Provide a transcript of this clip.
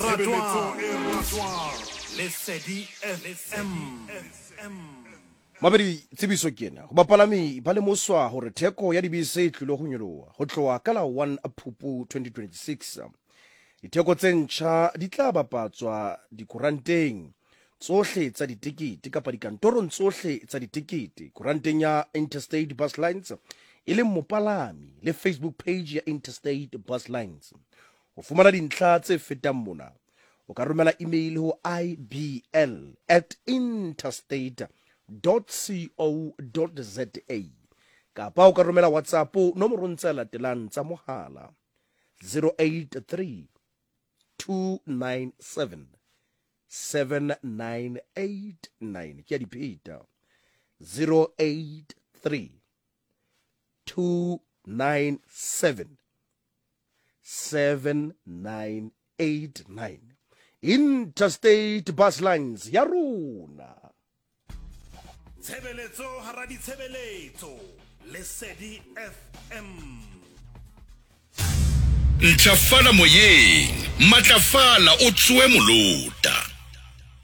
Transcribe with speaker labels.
Speaker 1: ratwang Lesedi FM.
Speaker 2: Mabedi tsebiso ke ena go bapalami ba lemoswa gore theko ya dibese e tlile go nyoloa go tloga ka la 1 Phupu 2026. Ditheko tse ntšha di tla bapatswa dikoranteng tsohle tsa ditekete kapa dikantorong tsohle tsa ditekete, koranteng ya Interstate Bus Lines e leng mopalami le Facebook page ya Interstate Bus Lines. Ho fumana dintlha tse fetang mona, o ka romela email ho ibl at interstate co za kapa o ka romela WhatsApp nomorong tse latelang tsa mohala 083 297 7989. Ke a di pheta, 083 297 7989. Interstate Bus Lines ya rona.
Speaker 1: Tshebeletso hara ditshebeletso, Lesedi FM.
Speaker 3: Ntlafala moyeng, matlafala o tsoe molota.